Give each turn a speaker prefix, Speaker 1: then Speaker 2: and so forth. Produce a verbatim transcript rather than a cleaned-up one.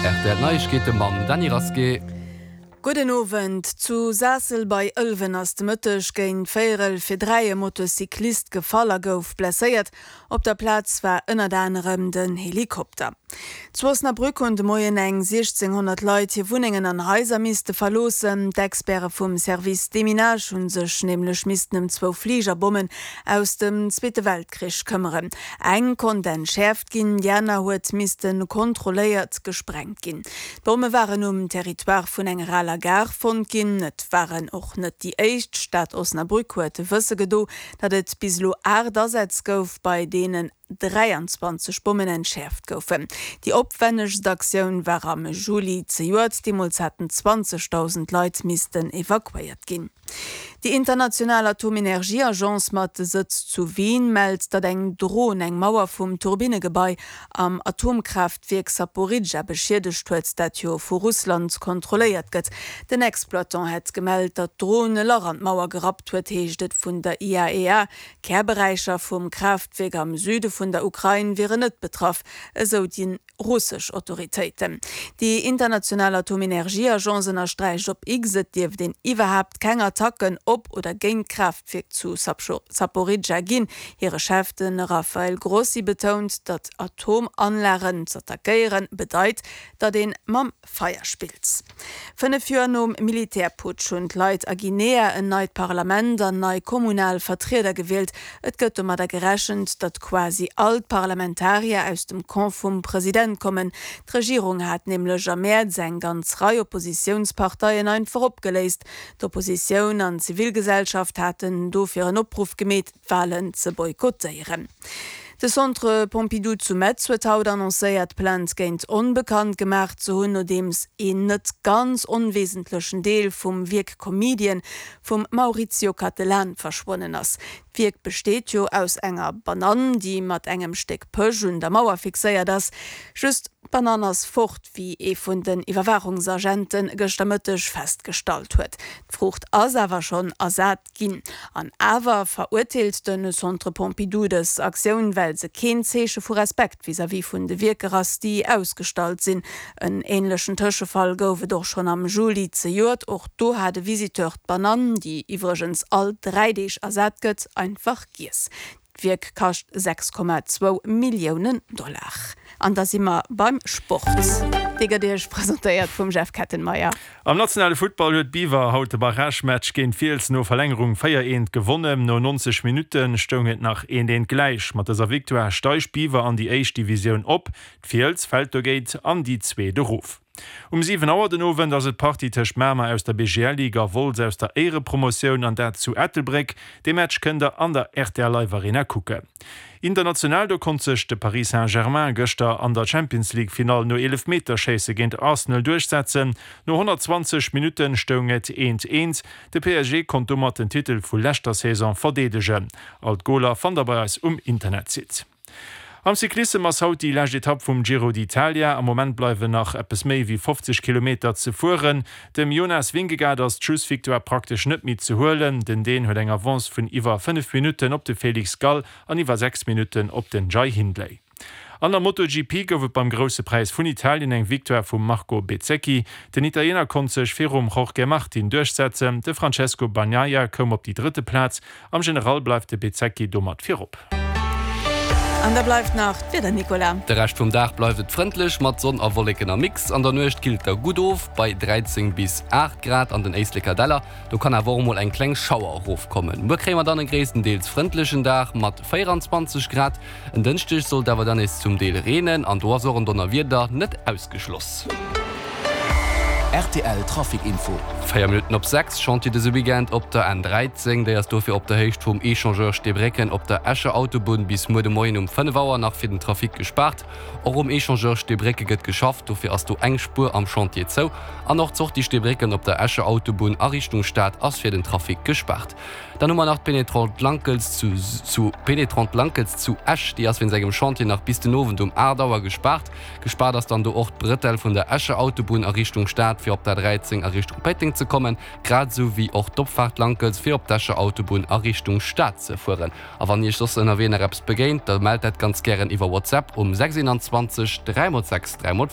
Speaker 1: R T L Neiegkeete mam Dany Rasqué.
Speaker 2: Gudden Owend. Zu Saassel bei Ëlwen ass de Mëtteg géint véierel fir dräi e Motocyclist gefall a gouf blesséiert. Op der Plaz war ënnert anerem den Helikopter. Zu Osnabrück hunn de Moien eng siechzénghonnert Leit hir Wunnengen an Haiser misste verloossen. D'Experte vum Service Deminage hu sech nämlech missten ëm zwou Fligerbommen aus dem Zweete Weltkrich këmmeren. Eng konnt entschäerft ginn, déi aner huet misste kontrolléiert gesprengt ginn. D'Bomme waren um Territoire vun enger aler Gare fonnt ginn. Et waren och net déi éischt. D'Stad Osnabrück huet wësse gedo, datt et bis elo aacht Asätz gouf, bei deenen dräianzwanzeg Bommen entschäerft goufen. Déi opwännegst Aktioun war am Juli zejoert, deemools haten zwanzegdausend Leit missten evakuéiert ginn. Déi international Atomenergieagence mat Sëtz zu Wien mellt, datt eng Dron eng Mauer vum Turbinnegebai am Atomkraaftwierk Saporidschja beschiedegt huet, dat jo vu Russland kontrolléiert gëtt. Den Exploitant hätt gemellt, datt d'Dron e Lach an d'Mauer gerappt huet, heescht et vun der I A E A. Kärberäicher vum Kraaftwierk am Süde vun der Ukrain wieren net betraff, esou déi russesch Autoritéiten. Déi international Atomenergieagence ënnersträicht op X, et dierft een iwwerhaapt keng Attacken op oder géint d'Kraaftwierk zu Saporidschja ginn. Hire Chef, de Rafael Grossi, betount, datt Atomanlagen z'attackéieren bedeit, datt ee mam Feier spillt. Fënnef Joer nom Militärputsch hunn d'Leit a Guinea en neit Parlament an nei kommunal Vertrieder gewielt. Et gëtt domadder gerechent, datt quasi all d'Parlamentarier aus dem Camp vum President kommen. D'Regierung hat nämlech am Mäerz eng ganz Rei Oppositiounsparteien einfach opgeléist. D'Oppositioun an d'Zivilgesellschaft haten dofir en Opruff gemeet, d'Walen ze boykottéieren. De Centre Pompidou zu Metz huet haut annoncéiert, Plainte géint Onbekannt gemaach ze hunn, nodeems een net ganz onwesentlechen Deel vum Wierk Comedian vum Maurizio Cattelan verschwonnen ass. D'Wierk besteet jo aus enger Banann, déi mat engem Stéck Pësch un der Mauer fixéiert ass. Just d'Banann ass fort, wéi ee vun den Iwwerwaachungsagente gëschter Mëtteg festgestallt huet. D'Fruucht ass awer schonn ersat ginn. An awer verurteelt de Centre Pompidou dës Aktioun, well se keen Zeeche vu Respekt vis-à-vis vun de Wierker ass, déi ausgestallt sinn. En änlechen Tëschefall gouf et och schonn am Juli zejoert. Och do hat e Visiteur d'Banann, déi iwwregens all dräi Deeg ersat gëtt, einfach giess. D'Wierk kascht sechs Komma zwou Milliounen Dollar. An da si mer beim Sport. Dee gëtt Iech presentéiert vum Jeff Kettenmeyer.
Speaker 3: Am nationale Futtball huet Biwer haut de Barragematch géint Fiels no Verlängerung véier eent gewonnen. No neunzeg Minutte stoung et nach eent eent gläich. Mat dëser Victoire steigt Biwer an déi éischt Divisioun op. D'Fiels fält dogéint an déi zweet erof. Um siwen Auer den Owend ass et d'Partie tëscht Mamer aus der B G L Ligue a Wolz aus der Éierepromotioun an dat zu Ettelbréck. Dee Match kënnt der an der R T L Live Arena kucken. International, do konnt sech de Paris Saint-Germain gëschter an der Champions League Finall no Eelefmeterschéisse géint Arsenal duerchsetzen. No honnertzwanzeg Minutte stoung et eent eent. De P S G konnt domat den Titel vu leschter Saison verdeedegen. All d'Goler fannt der bei eis um Internetsite. Am Cyclissem ass haut déi lescht Etapp vum Giro d'Italia. Am Moment bleiwen nach eppes méi wéi fofzeg Kilometer ze fueren. Dem Jonas Vingegaard ass d'Schlussvictoire praktesch net méi ze huelen. Den Dän huet eng Avance vun iwwer fënnef Minutten op de Felix Gall an iwwer sechs Minutten op den Jai Hindley. An der MotoGP gouf et beim Grousse Präis vun Italien eng Victoire vum Marco Bezzecchi. Den Italiener konnt sech virum Jorge Martin duerchsetzen. De Francesco Bagnaia koum op déi drëtte Plaz. Am General bleift de Bezzecchi domat virop.
Speaker 2: An da bleift nach d'Wieder, Nicolas.
Speaker 1: De Rescht vum Dag bleift et frëndlech mat Sonn a Wolleken am Mix. An der Nuecht killt da gutt of bei dräizéng bis aacht Grad an den Éisleker Däller. Do kann awer och mol eng kleng Schauer erofkommen. Muer kréie mer dann e gréisstendeels frëndlechen Dag mat véieranzwanzeg Grad. En Dënschdeg soll et awer dann nees zum Deel reenen an do ass och en Donnerwieder net ausgeschloss.
Speaker 4: R T L Trafic Info.
Speaker 1: Véier Minutten op sechs, Chantier dëse Weekend op der N dräizéng. Déi ass dofir op der Héicht vum Echangeur Steebrécken op der Escher Autobunn bis muer de Moien um fënnef Auer nach fir den Trafic gespaart. Och um Echangeur Steebrécke gëtt geschafft, dofir ass do eng Spuer am Chantier zou. An och d'Sortie Steebrécken op der Escher Autobunn a Richtung Stad ass fir den Trafic gespaart. Dann hu mer nach d'Pénétrante Lankels zu zu Pénétrante Lankels zu Esch, déi ass wéinst engem Chantier nach bis den Owend um aacht Auer gespaart. Gespaart ass dann do och d'Brëtell vun der Escher Autobunn a Richtung Stad fir op der dräizéng a Richtung Péiteng ze kommen, grad esou wéi och d'Opfaart Lankels fir op d'Escher Autobunn a Richtung Stad ze fueren. A wann Iech soss ënnerwee nach eppes begéint, da mellt dat ganz gären iwwer WhatsApp um sechs eenanzwanzeg dräi mol sechs dräi mol.